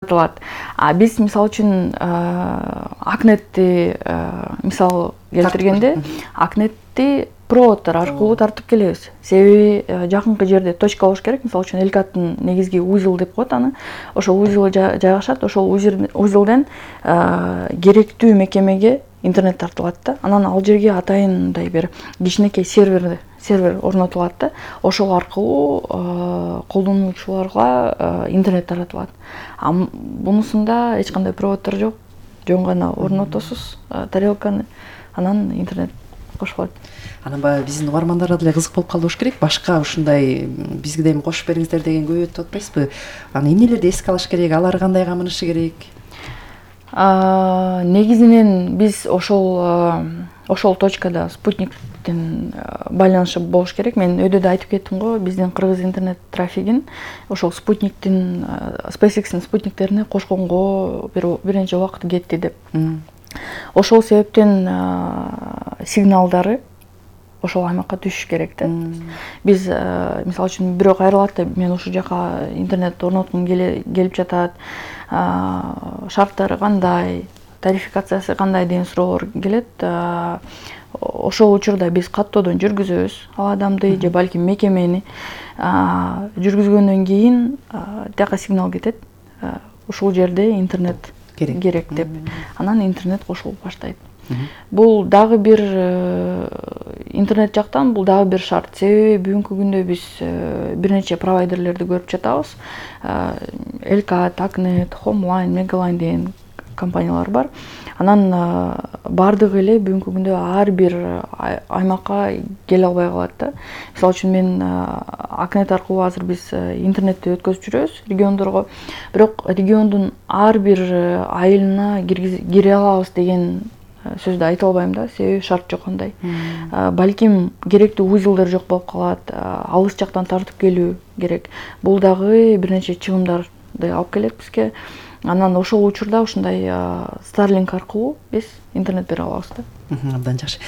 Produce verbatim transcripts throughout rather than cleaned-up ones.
жаратылат. А биз мисалы үчүн акнетти мисал келтиргенде акнетти проводдор аркылуу тартып келебиз. Себеби жакынкы жерде точка болуш керек. Мисалы үчүн элкаттын негизги узел деп коет аны. Ошол узел жайгашат. Ошол узелден керектүү мекемеге интернет тартылат да. Анан ал жерге атайын мындай бир кичинекей сервер сервер орнотулат да. Ошол аркылуу колдонуучуларга интернет таратылат. А бунусунда эч кандай проводдор жок. Жөн гана орнотосуз тарелканы, анан интернет кошулат. Анан баягы биздин угармандарга деле кызык болуп калды болуш керек. Башка ушундай бизге дем кошуп бериңиздер деген көп өтүп атпайсызбы? Аны эмнелерди эске алыш керек? Алар кандай камынышы керек? Негизинен биз ошол ошол точкада спутниктин байланышы болуш керек. Мен өйдө да айтып кеттим го, биздин кыргыз интернет трафигин ошол спутниктин SpaceX'ин спутниктерине кошконго бир бир нече убакыт кетти деп. Ошол себептен сигналдары ошол аймакка түшүш керек да. Биз мисалы үчүн бирок айрылат да, мен ушул жака интернет орноткум келип жатат, шарттары кандай, тарификациясы кандай деген суроолор келет. Ошол учурда биз каттоодон жүргүзөбүз ал адамды же балким мекемени. Жүргүзгөндөн кийин тияка сигнал кетет. Ушул жерде интернет керек деп. Анан интернет кошулуп баштайт. Бул дагы бир интернет жактан бул дагы бир шарт. Себеби бүгүнкү күндө биз бир нече провайдерлерди көрүп жатабыз. Элкат, Акнет, Homeline, Megaline деген компаниялар бар. Анан бардыгы эле бүгүнкү күндө ар бир аймакка келе албай калат да. Мисалы үчүн мен Акнет аркылуу азыр биз интернетти өткөзүп жүрөбүз региондорго. Бирок региондун ар бир айылына кире алабыз деген сөздү айта албайм да, себеби шарт жок андай. Балким керектүү узелдер жок болуп калат, алыс жактан тартып келүү керек. Бул дагы бир нече чыгымдарды алып келет бизге. Анан ошол учурда ушундай Starlink аркылуу биз интернет бере алабыз да. Абдан жакшы.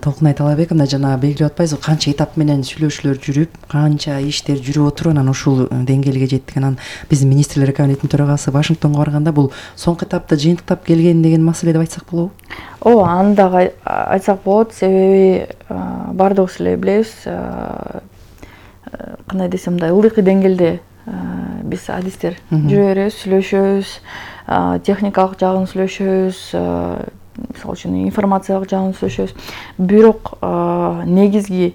Толкунай Талабек мына жана белгилеп атпайсызбы, канча этап менен сүйлөшүүлөр жүрүп, канча иштер жүрүп отуруп анан ушул деңгээлге жеттик. Анан биздин министрлер кабинетинин төрагасы Вашингтонго барганда бул соңку этапта жыйынтыктап келген деген маселе деп айтсак болобу? Ооба, аны дагы айтсак болот, себеби бардыгыбыз эле билебиз, кандай десем мындай ылдыйкы деңгээлде биз адистер жүрө беребиз, сүйлөшөбүз, техникалык жагын сүйлөшөбүз, мисалы үчүн информациялык жагын сүйлөшөбүз. Бирок негизги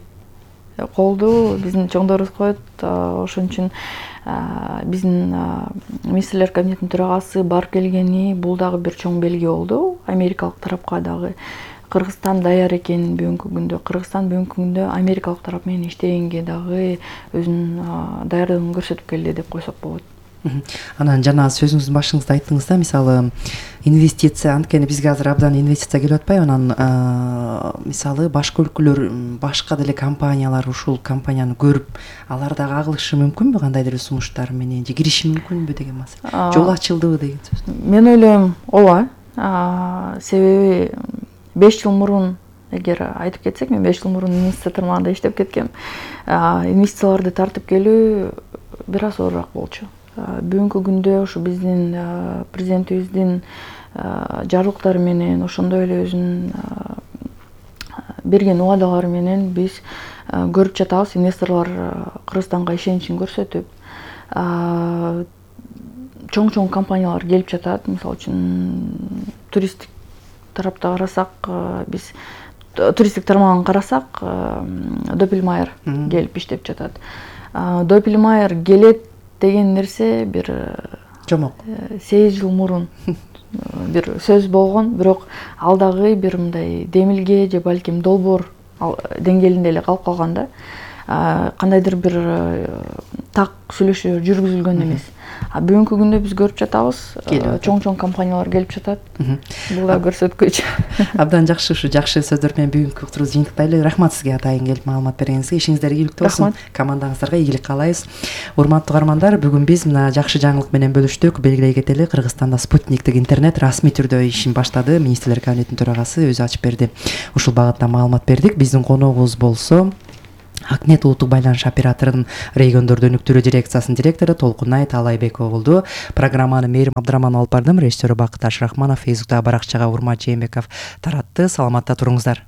колду биздин чоңдорубуз коет. Ошон үчүн биздин министрлер кабинетинин төрагасы барып келгени бул дагы бир чоң белги болду. Америкалык тарапка дагы Кыргызстан даяр экенин бүгүнкү күндө, Кыргызстан бүгүнкү күндө америкалык тарап менен иштегенге дагы өзүнүн даярдыгын көрсөтүп келди деп койсок болот. Анан жана сөзүңүздүн башыңызда айттыңыз да, мисалы инвестиция, анткени бизге азыр абдан инвестиция келип атпайбы? Анан мисалы башка өлкөлөр, башка деле компаниялар ушул компанияны көрүп, алар дагы агылышы мүмкүнбү кандайдыр сунуштар менен же кириши мүмкүнбү деген маселе. Жол ачылдыбы деген сөз. Мен ойлойм, ооба. Себеби беш жыл мурун, эгер айтып кетсек, мен беш жыл мурун инвестиция тармагында иштеп кеткем. Инвестицияларды тартып келүү бир аз оорураак болчу. Бүгүнкү күндө ушу биздин президентибиздин жарлыктары менен, ошондой эле өзүнүн берген убадалары менен биз көрүп жатабыз, инвесторлор Кыргызстанга ишеничин көрсөтүп, чоң-чоң компаниялар келип жатат. Мисалы үчүн туристтик тарапта карасак, биз туристтик тармагын карасак, Doppelmayr келип иштеп жатат. Doppelmayr келет деген нерсе бир жомок сегиз жыл мурун бир сөз болгон, бирок ал дагы бир мындай демилге же балким долбоор деңгээлинде эле калып калган да. Кандайдыр бир так сүйлөшүүлөр жүргүзүлгөн эмес. А бүгүнкү күндө биз көрүп жатабыз, чоң-чоң компаниялар келип жатат. Бул да көрсөткүч. Абдан жакшы, ушу жакшы сөздөр менен бүгүнкү уктурубузду жыйынтыктайлы. Рахмат сизге атайын келип маалымат бергениңизге. Ишиңиздер ийгиликтүү болсун. Командаңыздарга ийгилик каалайбыз. Урматтуу угармандар, бүгүн биз мына жакшы жаңылык менен бөлүштүк. Белгилей кетели, Кыргызстанда спутниктик интернет расмий түрдө ишин баштады. Министрлер кабинетинин төрагасы өзү ачып берди. Ушул багытта маалымат бердик. Биздин коногубуз болсо Акнет улуттук байланыш операторунун региондорду өнүктүрүү дирекциясынын директору Толкунай Таалайбекова болду. Программаны Мээрим Абдрахманова алып бардым. Режиссеру Бакыт Ашрахманов, Фейсбуктагы баракчага Урмат Жээнбеков таратты. Саламатта туруңуздар.